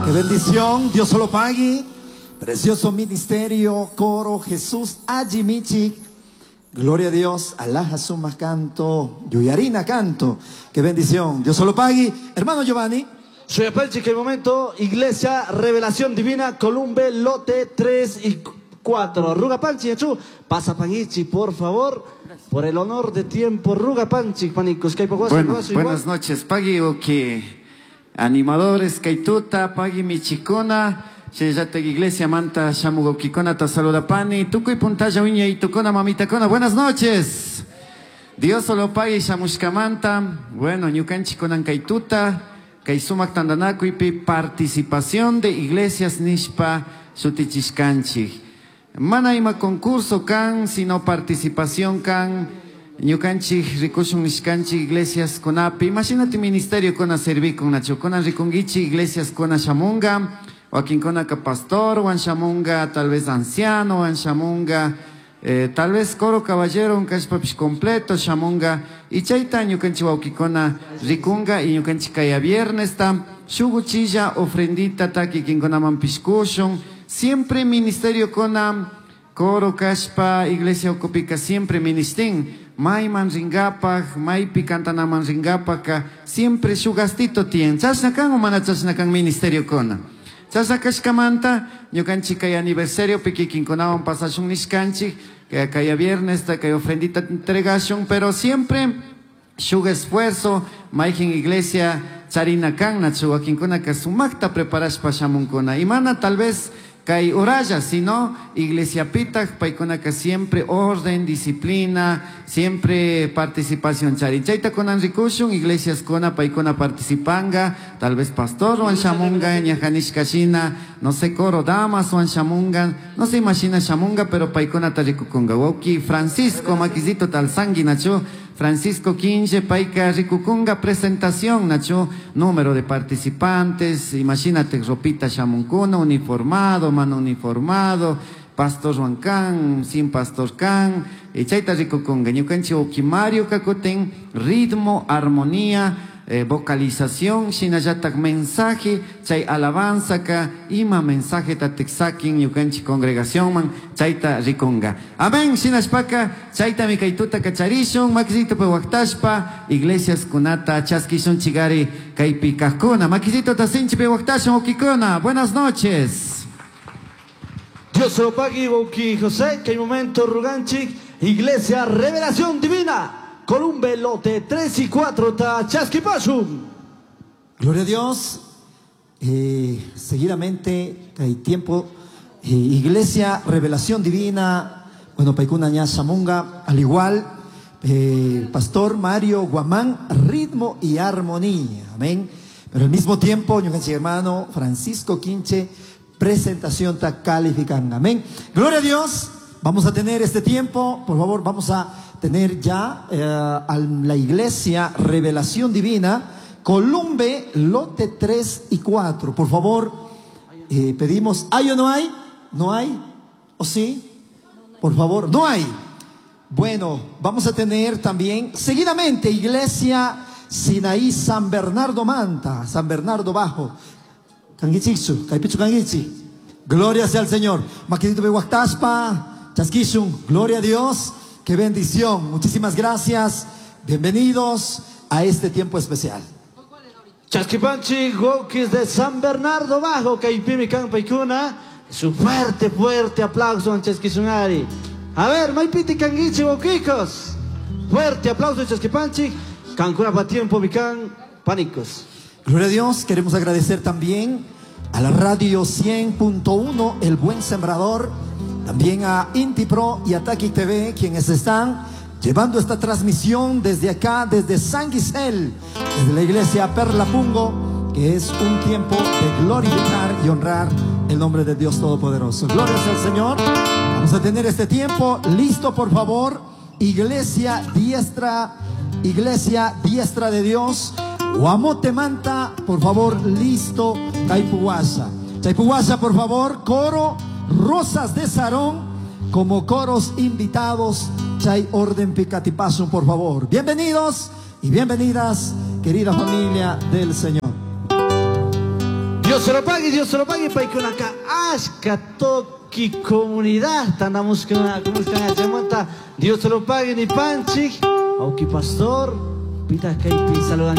Qué bendición, Dios solo pague. Precioso ministerio, coro, Jesús Ajimichi. Gloria a Dios, Alaja suma canto, Yuyarina canto. Qué bendición, Dios solo pague. Hermano Giovanni. Soy Apache, que el momento, Iglesia Revelación Divina, Columbe, lote 3 y 4. Ruga Panchi, Yachu, pasa Pangichi, por favor, por el honor de tiempo, Ruga Panchi, Panicos, Bueno, buenas noches, Pagui, que animadores, Kaituta, Pagui Michikuna, Sheyata Iglesia Manta, Shamugokikona, ta saluda Pani, Tukuy Puntalla Uña y Tukona, Mamita Kona, buenas noches. Dios solo pague Shamushkamanta, bueno, Ñukanchi Konan Kaituta, Kay sumak tandanakuypi participación de iglesias nishpa shutichishkanchik. Mana ima concurso kan, sino participación kan, ñukanchik rikushun nishkanchik iglesias kunapi. Imagínate ministerio kuna servikun nachu, kuna rikungichi iglesias kuna shamunga, wakinkuna ka pastor wan shamunga, tal vez anciano wan shamunga, tal vez coro caballero un kashpapish completo shamunga, y chayta ñukanchik wawkikuna rikunga, y ñukanchik kaya viernes ta shuguchilla ofrendita ta kikinkunaman pishkushun. Siempre ministerio kuna coro kashpa iglesia ukupika siempre ministin mayman ringapaj, maypi cantanaman ringapajka siempre shugastito tien. Chashna kan o mana chashna kan ministerio kuna. Chashna kashkamanta ñukanchik kay aniversario pi kikinkunawan pasashun nishkanchik, que kaya viernes ta kay ofrendita entregashun, pero siempre shuk esfuerzo mayjin iglesia charina kan nachu wakinkuna ka sumakta preparashpa shamunkuna. Y mana tal vez kay uralla, sino iglesia pitag, paykuna ka siempre orden, disciplina, siempre participación charin. Chayta kunan rikushun, iglesias kuna, paykuna participanga, tal vez pastor wan shamunga, ñajanishka shina, no sé, coro damas wan shamunga, no se imagina shamunga, pero paykuna ta rikukunga. Wauki Francisco makizito tal sangui nachu, Francisco Quinche, paika rikukunga, presentación, nacho, número de participantes, imagínate, ropita shamunkuna, uniformado, mano uniformado, pastor Juan sin pastor Can, y chayta rikukunga, ñukanchi uki Mario kakuten, ritmo, armonía, vocalización, shinallatak mensaje, chay alabanza ka, ima mensaje tatiksakin ñukanchi congregación man, chayta rikunga. Amén, shinashpaka, chayta mikaituta kacharishun, makisito pe waktashpa, iglesias kunata, chaskishun chigari, kaypi kajkuna, makisito tasinchi pe waktashun ukikuna. Buenas noches. Dios se lo pague, Uki José, que hay momento ruganchik, Iglesia Revelación Divina. Columbe, lote 3 y 4, ta Chasquipashum. Gloria a Dios. Seguidamente, hay tiempo. Iglesia Revelación Divina. Bueno, Paikuna Ña Shamunga, al igual, Pastor Mario Guamán, ritmo y armonía. Amén. Pero al mismo tiempo, ñukanchik hermano Francisco Quinche, presentación ta califican. Amén. Gloria a Dios. Vamos a tener este tiempo, por favor, vamos a tener ya a la iglesia Revelación Divina, Columbe, lote 3 y 4. Por favor, pedimos, ¿hay o no hay? ¿No hay? ¿O sí? Por favor, no hay. Bueno, vamos a tener también, seguidamente, Iglesia Sinaí San Bernardo Manta, San Bernardo Bajo. Kangichiksu, Kaipichu Kangichi. Gloria sea al Señor. Maquinito Behuactaspa, Chasquishun, gloria a Dios. Qué bendición. Muchísimas gracias. Bienvenidos a este tiempo especial. Chasquipanchi, Wokis de San Bernardo Bajo, Caipimi Campaicuna. Su fuerte, fuerte aplauso en Chasquisunari. A ver, Maipiti Canguichi, Wokikos. Fuerte aplauso en Chasquipanchi. Cancuna pa tiempo, Vicán, Pánicos. Gloria a Dios. Queremos agradecer también a la radio 100.1, El Buen Sembrador. También a Inti Pro y a Taki TV, quienes están llevando esta transmisión desde acá, desde San Gisel, desde la iglesia Perla Pungo, que es un tiempo de glorificar y honrar el nombre de Dios Todopoderoso. Gloria al Señor. Vamos a tener este tiempo listo, por favor. Iglesia Diestra, Iglesia Diestra de Dios, Guamote Manta, por favor, listo. Chaipuhuasha. Chaipuhuasha, por favor, coro Rosas de Sarón, como coros invitados. Chay Orden Picatipasum, por favor. Bienvenidos y bienvenidas, querida familia del Señor. Dios Dios se lo pague, Dios se lo pague, paykunaka ashka toki comunidad tandamushka chaymanta Dios se lo pague ni panchik, auki pastor, pita kaypi saludan.